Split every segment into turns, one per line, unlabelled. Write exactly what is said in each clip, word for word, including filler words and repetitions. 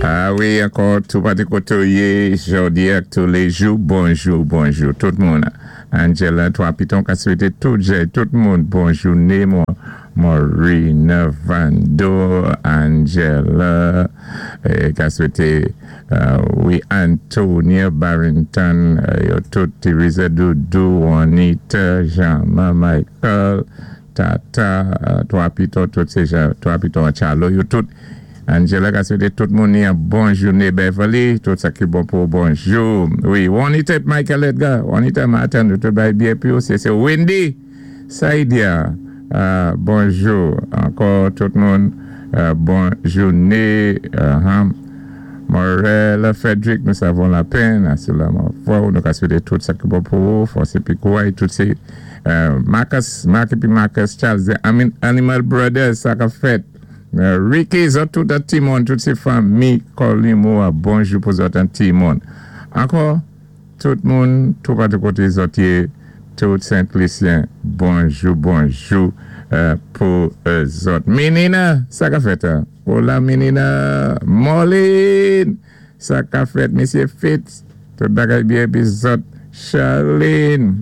Ah wi, ankò tou patou koté ou yé, jòdi ak tou lé jou, bonjou, bonjou, tout moun. Angela, Twa Piton, ka swété tout jè, tout moun, bon jouné, Maureen, Vando, Angela, ka swété, wi, Antonia, Barrington, yo tout, Teresa, Doudou, Juanita, Jean-Ma, Michael, Tata, Twa Piton, tout sé jan, Twa Piton, Charlo, yo tout, Angela ka swété tout moun ni an bon jouné Beverly, tout sa ki bon pou bonjou. Wi, Juanita Michael Edgar, Juanita Martin, tout bay byen pi ou, sé sé Wendy, Saidia, bonjou, ankò tout moun, bon jouné, Morel, Frederick, nous avons la peine, sou la fwa, nou ka swété tout sa ki bon pou ou, fòs épi kouway, tout sé, Marcus, Marc épi Marcus Charles, the Animal Brothers, sa ka fèt, Ricky, zòt tout an ti moun, tout sé fanmi, Colimo, bonjou pou zòt an ti moun. Ankò, tout moun, tou patou koté zòt yé, tout Saint-Lucien, bonjou, bonjou, pou zòt. Menina, sa ka fèt? Hola Menina, Molin, sa ka fèt, Mesye Fitz, tout bagay byen pi zòt, Charlene,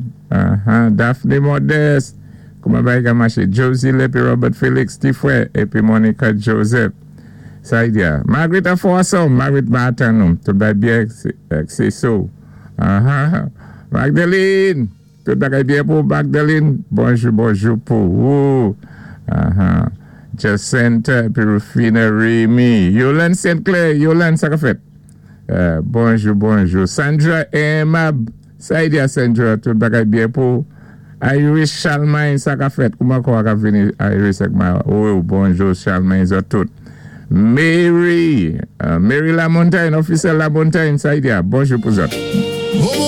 Daphne Modeste, kouman bagay ka maché, Josie Lepi, Robert Felix, Tifwe, épi Monica Joseph. Sa y diya. Margaret Afoaso, Margaret Martin nou, tout bagay byen, sé so. Magdalene, tout bagay byen pou Magdalene, bonjou, bonjou pou ou. Jacinta, épi Rufina Remy, Yolande Sinclair, Yolande, sa ka fèt. Bonjou, bonjou. Sandra Emab, sa y diya Sandra, tout bagay byen pou Iris Charlemagne, sa ka fèt. Kouman kwa ka vini Iris ak ma? Oh, bonjou Charlemagne, zòt tout. Mary, Mary Lamontagne, officiel Lamontagne, sa y diya, bonjou pou zòt.